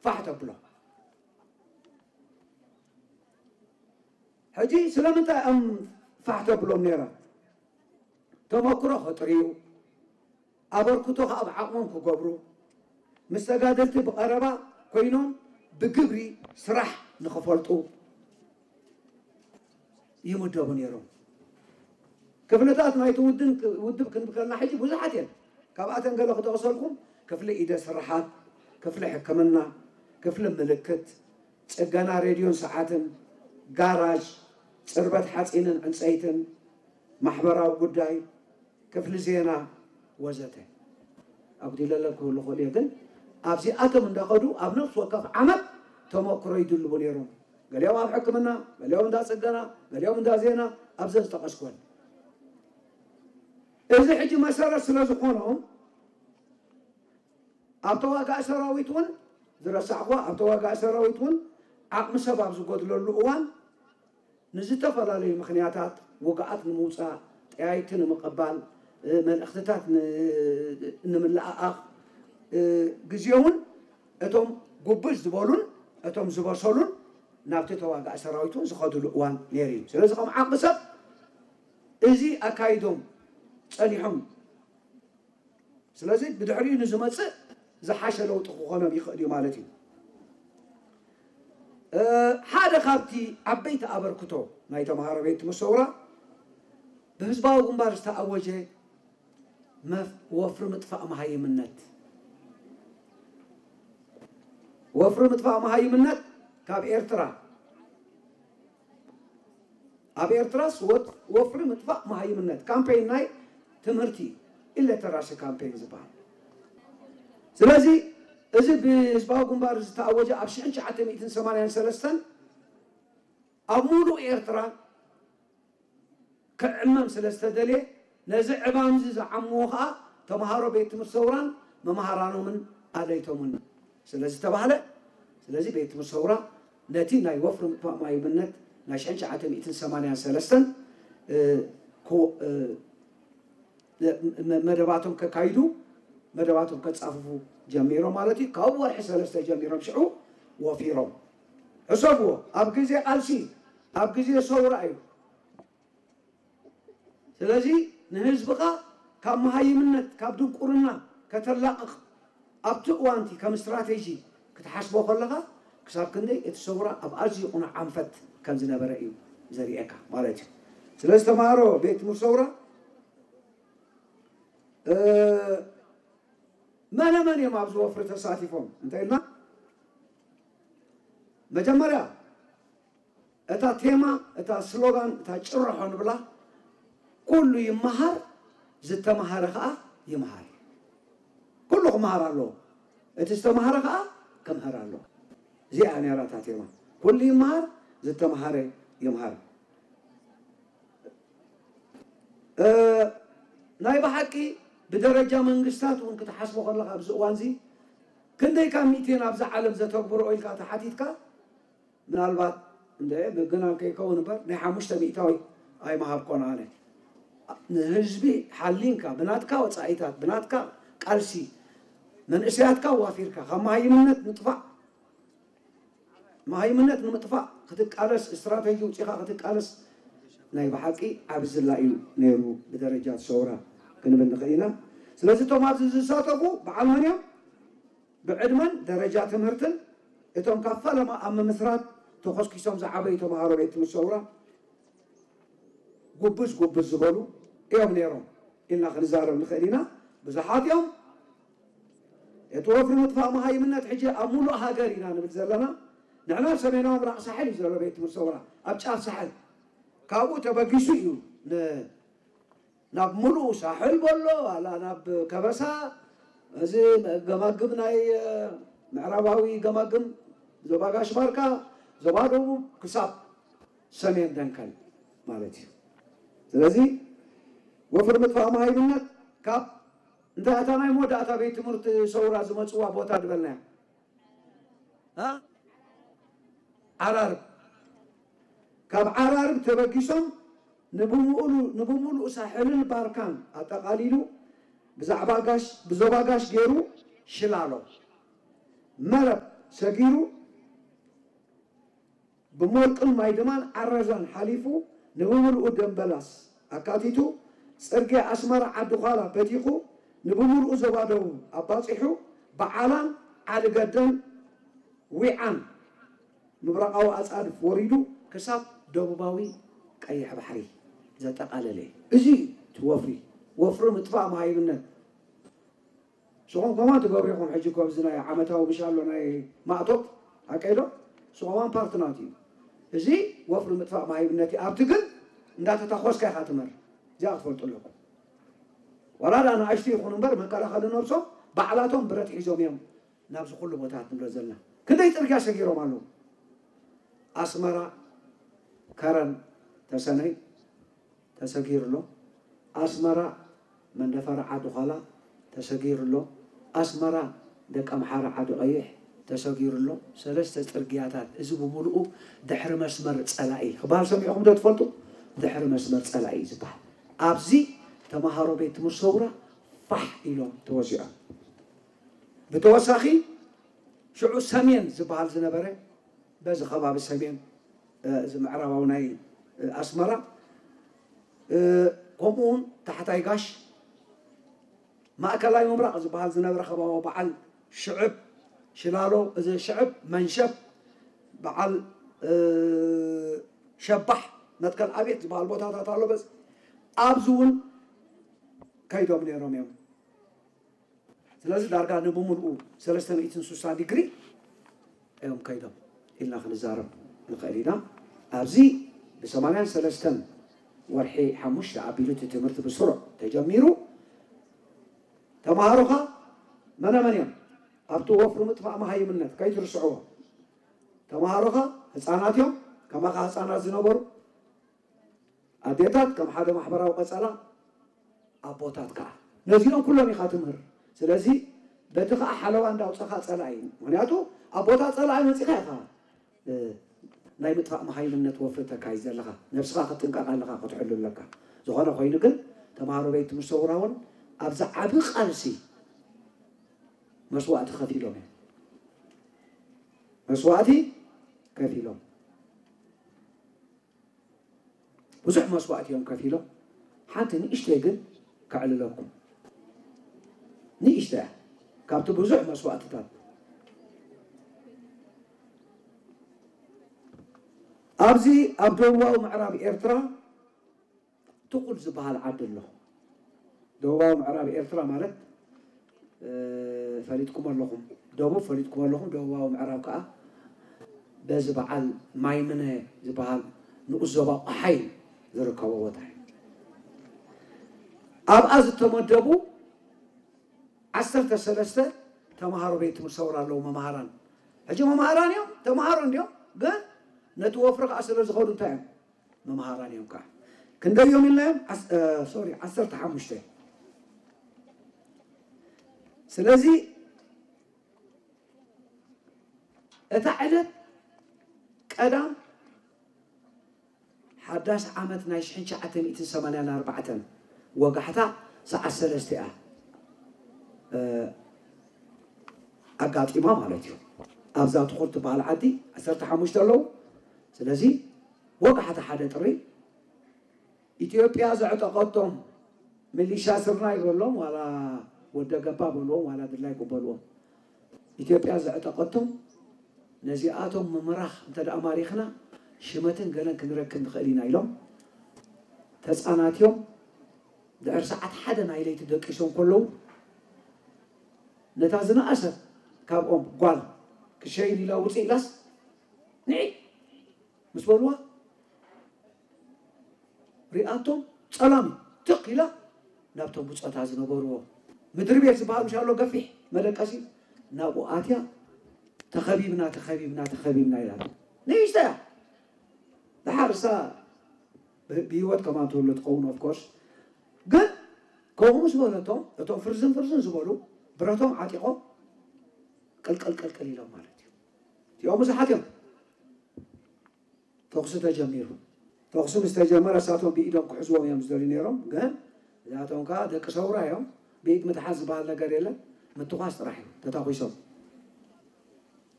ፋሕ ተብሎ። ሕጂ ስለምንታይ እዮም ፋሕ ተብሎም ነይሮም? ተመክሮ ከጥርዩ፣ ኣበርክቶ ከኣ ብዓቕሞም ክገብሩ፣ ምስ ተጋደልቲ ብቐረባ ኮይኖም ብግብሪ ስራሕ ንኽፈልጡ ይምደቡ ነይሮም። ክፍልታት ናይቲ ውድን ውድብ ክንብል ከለና ሕጂ ብዙሓት እየን። ካብኣተን ገለ ክጠቕሰልኩም፣ ክፍሊ ኢደ ስርሓት፣ ክፍሊ ሕክምና፣ ክፍሊ ምልክት፣ ጽገና ሬድዮን ሰዓትን፣ ጋራዥ፣ ጽርበት ሓጺንን ዕንጸይትን፣ ማሕበራዊ ጉዳይ፣ ክፍሊ ዜና ወዘተ። ኣጉዲለለ ክህሉ ክእል እየ፣ ግን ኣብዚኣቶም እንዳኸዱ ኣብ ነፍሲ ወከፍ ዓመት ተመክሮ ይድልቡ ነይሮም። ገሊኦም ኣብ ሕክምና፣ ገሊኦም እንዳ ጽገና፣ ገሊኦም እንዳ ዜና፣ ኣብዘን ዝጠቐስኩወን። እዚ ሕጂ መሰረት ስለ ዝኾኖም ኣብ ተዋጋኢ ሰራዊት እውን ዝረሳዕኹዋ፣ ኣብ ተዋጋኢ ሰራዊት እውን ዓቕሚ ሰብ ኣብ ዝጎድለሉ እዋን ንዝተፈላለዩ ምኽንያታት ውግኣት ንምውጻእ፣ ጠያይቲ ንምቕባል፣ እ፣ መልእኽትታት ን-፣ ንምልኣኣኽ፣ እ፣ ግዜውን እቶም ጉብዝ ዝበሉን እቶም ዝበሰሉን ናብቲ ተዋጋኢ ሰራዊት እውን ዝኸድሉ እዋን ነይሩ እዩ። ስለዚ ከም ዓቕሚ ሰብ እዚ ኣካይዶም ጸኒሖም። ስለዚ ብድሕሪኡ ንዝመጽእ ዝሓሸ ለውጢ ክኾኖም ይኽእል እዩ ማለት እዩ። እ፣ ሓደ ካብቲ ዓበይቲ ኣበርክቶ ናይ ተምሃሮ ቤት ትምህርቲ ሰውራ ብህዝባዊ ግንባር ዝተኣወጀ መፍ-፣ ወፍሪ ምጥፋእ መሃይምነት፣ ወፍሪ ምጥፋእ መሃይምነት ካብ ኤርትራ፣ ኣብ ኤርትራስ ወት-፣ ወፍሪ ምጥፋእ መሃይምነት ካምፔን ናይ ትምህርቲ ኢለተራሲ ካምፔን ዝበሃል። ስለዚ እዚ ብህዝባዊ ግንባር ዝተኣወጀ ኣብ ሽሕን ትሽዓተ ሚእትን ሰማንያን ሰለስተን ኣብ ሙሉእ ኤርትራ ክዕመም ስለ ዝተደልየ፣ ነዚ ዕማም እዚ ዝዓምዎ ከኣ ተምሃሮ ቤት ትምህርቲ ሰውራን መምሃራኖምን ኣለይቶምን ስለ ዝተባህለ፣ ስለዚ ቤት ትምህርቲ ሰውራ ነቲ ናይ ወፍሪ ምጥፋእ መሃይምነት ናይ ሽሕን ትሽዓተ ሚእትን ሰማንያን ሰለስተን፣ እ፣ ኮ-፣ እ፣ መ-፣ መደባቶም ከካይዱ፣ መደባቶም ከጻፍፉ ጀሚሮም ማለት እዩ። ካብ ወርሒ ሰለስተ ጀሚሮም ሽዑ ወፊሮም። ሕሰብዎ፣ ኣብ ግዜ ቃልሲ፣ ኣብ ግዜ ሰውራ እዩ። ስለዚ ንህዝብኻ ካብ መሃይምነት፣ ካብ ድንቁርና ከተላቕቕ ኣብቲ እዋንቲ ከም ስትራቴጂ ክትሓስቦ ከለኻ፣ ክሳብ ክንደይ እቲ ሰውራ ኣብ ኣዝዩ ቅኑዕ ኣንፈት ከም ዝነበረ እዩ ዘርእየካ ማለት እዩ። ስለዚ ተምሃሮ ቤት ትምህርቲ ሰውራ፣ እ፣ መነ መን እዮም ኣብዚ ወፍሪ ተሳቲፎም እንተ ኢልና፣ መጀመርያ እታ ቴማ፣ እታ ስሎጋን፣ እታ ጭርሖ ንብላ፣ ኩሉ ይመሃር፣ ዝተምሃረ ከኣ ይምሃር። ኩሉ ክመሃር ኣለዎ። እቲ ዝተምሃረ ከኣ ክምህር ኣለዎ። እዚኣ ነይራ እታ ቴማ። ኩሉ ይመሃር፣ ዝተምሃረ ይምሃር። እ፣ ናይ ብሓቂ ብደረጃ መንግስታት እውን ክትሓስቦ ከለኻ ኣብዚ እዋንዚ ክንደይ ካብ ሚእቲ ኣብዛ ዓለም ዘተግብርኦ ኢልካ ተሓቲትካ፣ ምናልባት እንደ ብግና ከይከውን እምበር ናይ ሓሙሽተ ሚእታዊ ኣይምሃብኮን ኣነ። ንህዝቢ ሓሊንካ፣ ብናትካ ወጻኢታት፣ ብናትካ ቃልሲ፣ መንእሰያትካ ዋፊርካ ካብ መሃይምነት ምጥፋእ፣ መሃይምነት ንምጥፋእ ክትቃለስ፣ ስትራቴጂ ውጺኻ ክትቃለስ ናይ ብሓቂ ዓቢ ዝላ እዩ ነይሩ ብደረጃ ሰውራ ክንብል ንኽእል ኢና። ስለዚ እቶም ኣብዚ ዝሳተፉ በዓል መን እዮም? ብዕድመን ደረጃ ትምህርትን እቶም ካብ ፈለማ ኣብ ምምስራት ተኾስኪሶም ዝዓበዩ ተምሃሮ ቤት ትምህርቲ ሰውራ ጉብዝ ጉብዝ ዝበሉ እዮም ነይሮም ኢልና ክንዛረብ ንኽእል ኢና። ብዙሓት እዮም። እቲ ወፍሪ ምጥፋእ መሃይምነት ሕጂ ኣብ ሙሉእ ሃገር ኢና ንብል ዘለና። ንሕና ኣብ ሰሜናዊ ምብራቕ ሳሕል እዩ ዘሎ ቤት ትምህርቲ ሰውራ፣ ኣብ ጫፍ ሳሕል። ካብኡ ተበጊሱ እዩ ን-፣ ናብ ሙሉእ ሳሕል በሎ፣ ዋላ ናብ ከበሳ፣ እዚ ገማግም ናይ፣ እ፣ ምዕራባዊ ገማግም፣ ዞባ ጋሽ ባርካ፣ ዞባ ደቡብ ክሳብ ሰሜን ደንከል ማለት እዩ። ስለዚ ወፍሪ ምጥፋእ መሃይምነት ካብ እንታይ እታ ናይ መወዳእታ ቤት ትምህርቲ ሰውራ ዝመጽዋ ቦታ ዝበልናያ? እ? ዓራርብ። ካብ ዓራርብ ተበጊሶም ንብምኡሉ-፣ ንብምሉእ ሳሕልን ባርካን ኣጠቓሊሉ ብዛዕባ ጋሽ፣ ብዞባ ጋሽ ገይሩ ሽላሎ፣ መረብ፣ ሰጊሩ ብሞርቅን ማይድማን ዓረዛን ሓሊፉ ንብምልኡ ደምበላስ ኣካቲቱ ጽርግያ ኣስመራ ዓዲ ዃላ በቲኹ ንብምልኡ ዞባ ደቡብ ኣባጺሑ ብዓላን ዓዲ ገደን ዊዓን ምብራቓዊ ኣጻድፍ ወሪዱ ክሳብ ደቡባዊ ቀይሕ ባሕሪ ዘጠቓለለ እዩ። እዚ እዩ እቲ ወፍሪ። ወፍሪ ምጥፋእ መሃይምነት። ንስኹም ከማን ትገብሩ ኢኹም። ሕጂ እኮ ኣብዚ ናይ ዓመታዊ ምሽ ኣሎ ናይ ማእቶት፣ ሓቀይ ዶ? ንሱ ከማን ፓርት ናቱ እዩ። እዚ ወፍሪ ምጥፋእ መሃይምነት እዩ። ኣብቲ ግን እንዳተታኾስካ ኢኻ ትመር። እዚኣ ክትፈልጡ ኣለኩም። ዋላ ደኣ ንኣሽቱ ይኹኑ እምበር መከላኸሊ ነብሶም ባዕላቶም ብረት ሒዞም እዮም ናብዚ ኩሉ ቦታት ንብሎ ዘለና። ክንደይ ጽርግያ ሰጊሮም ኣለዉ። ኣስመራ ከረን ተሰነይ ተሰጊሩ ኣሎ። ኣስመራ መንደፈራ ዓዲ ዃላ ተሰጊሩ ኣሎ። ኣስመራ ደቀምሓረ ዓዲ ቀይሕ ተሰጊሩ ኣሎ። ሰለስተ ጽርግያታት፣ እዚ ብምሉኡ ድሕሪ መስመር ጸላኢ ክበሃል ሰሚዕኹም ዶ ትፈልጡ? ድሕሪ መስመር ጸላኢ እዩ ዝበሃል። ኣብዚ ተምሃሮ ቤት ትምህርቲ ሰውራ ፋሕ ኢሎም ተወዚዖም። ብተወሳኺ ሽዑ ሰሜን ዝበሃል ዝነበረ በዚ ከባቢ ሰሜን፣ እ፣ እዚ ምዕራባዊ ናይ፣ እ፣ ኣስመራ፣ እ፣ ከምኡ እውን ታሕታይ ጋሽ ማእከላይ ምብራቕ ዝበሃል ዝነበረ ከባቢ በዓል ሽዕብ ሽላሎ፣ እዚ ሽዕብ መንሸብ በዓል፣ እ፣ ሸባሕ መትከል ኣብየት ዝበሃል ቦታታት ኣሎ። በዚ ኣብዚ እውን ከይዶም ነይሮም እዮም። ስለዚ ዳርጋ ንብምልኡ ሰለስተ ሚእትን ስሳን ዲግሪ እዮም ከይዶም ኢልና ክንዛረብ ንኽእል ኢና። ኣብዚ ብሰማንያን ሰለስተን ወርሒ ሓሙሽተ ኣቢሉ እቲ ትምህርቲ ብስሩዕ ተጀሚሩ። ተምሃሮኻ መነመን እዮም? ኣብቲ ወፍሪ ምጥፋእ መሃይምነት ከይትርስዕዎ። ተምሃሮኻ ህፃናት እዮም፣ ከማኻ ህፃናት ዝነበሩ ኣዴታት ከም ሓደ ማሕበራዊ ቀጸላ፣ ኣቦታት ከኣ። ነዚኦም ኩሎም ኢኻ ትምህር። ስለዚ በቲ ከኣ ሓለዋ እንዳውጻኻ ጸላኢ። ምኽንያቱ ኣቦታት ጸላኢ መጺኻ ኢኻ፣ እ፣ ናይ ምጥፋእ መሃይምነት ወፍሪ ተካይድ ዘለኻ። ነብስኻ ክትጥንቀቕ ኣለኻ፣ ክትሕሉ ኣለካ። ዝኾነ ኮይኑ ግን ተምሃሮ ቤት ትምህርቲ ሰውራ እውን ኣብዚ ዓቢ ቃልሲ መስዋእቲ ከፊሎም እዮም። መስዋእቲ ከፊሎም። ብዙሕ መስዋእቲ እዮም ከፊሎም። ሓንቲ ንእሽተይ ግን ከዕልለኩም። ንእሽተይ እያ። ካብቲ ብዙሕ መስዋእትታት። ኣብዚ ኣብ ደቡባዊ ምዕራብ ኤርትራ ትኹል ዝበሃል ዓዲ ኣሎ። ደቡባዊ ምዕራብ ኤርትራ ማለት፣ እ፣ ፈሊጥኩም ኣለኹም። ደቡብ ፈሊጥኩም ኣለኹም። ደቡባዊ ምዕራብ ከኣ በዚ በዓል ማይምነ ዝበሃል ንኡስ ዞባ ቆሓይ ዝርከቦ ቦታ እዩ። ኣብኣ ዝተመደቡ ዓሰርተ ሰለስተ ተምሃሮ ቤት ትምህርቲ ሰውራ ኣለዉ፣ መምሃራን። ሕጂ መምሃራን እዮም፣ ተምሃሮ እንድዮም፣ ግን ነቲ ወፍሪ ከኣ ስለ ዝኸዱ እንታይ እዮም? መምሃራን እዮም ከዓ። ክንደይ እዮም ኢልናዮም? ዓስ-፣ እ፣ ሶሪ፣ ዓሰርተ ሓሙሽተ። ስለዚ እታ ዕለት ቀዳም ሓዳስ ዓመት ናይ ሽሕን ትሽዓተ ሚእትን ሰማንያን ኣርባዕተን ወጋሕታ ሰዓት ሰለስተ እያ፣ እ፣ ኣጋጢማ ማለት እዩ። ኣብዛ ትኹል ትበሃል ዓዲ ዓሰርተ ሓሙሽተ ኣለዉ። ስለዚ ወጋሕታ ሓደ ጥሪ ኢትዮጵያ ዘዕጠቐቶም ሚሊሻ ስርናይ በሎም፣ ዋላ ወደ ገባ በልዎም፣ ዋላ ድላይ በልዎም፣ ኢትዮጵያ ዘዕጠቐቶም ነዚኣቶም ምምራኽ እንተ ደኣ ማሪኽና ሽመትን ገለን ክንረክብ ንኽእል ኢና ኢሎም ተጻናትዮም ድሕሪ ሰዓት ሓደ ናይ ለይቲ ደቂሶም ከለዉ ነታ ዝነኣሰት ካብኦም ጓል ክሸይን ኢላ ውፅእ ኢላስ ንዒ ምስ በልዋ ሪኣቶም ጸላም ትኽ ኢላ ናብቶም ብጾታ ዝነበርዎ ምድሪ ቤት ዝበሃል ምሻሎ ገፊሕ መደቀሲ ናብኡ ኣትያ ተኸቢብና ተኸቢብና ተኸቢብና ኢላ ንእሽተያ ድሓር እሳ ብህይወት ከማን ትህሉ ትኸውን ኦፍኮርስ ግን ከምኡ ምስ በለቶም እቶም ፍርዝን ፍርዝን ዝበሉ ብረቶም ዓጢቖም ቅልቅል ቅልቅል ኢሎም ማለት እዩ እዚኦም ብዙሓት እዮም ተኹሲ ተጀሚሩ። ተኹሲ ምስ ተጀመረ እሳቶም ብኢዶም ክሕዝዎም እዮም ዝደልዩ ነይሮም። ግን እዚኣቶም ከዓ ደቂ ሰውራ እዮም። ብኢድ ምትሓዝ ዝበሃል ነገር የለን። ምትኳስ ጥራሕ እዩ። ተታኲሶም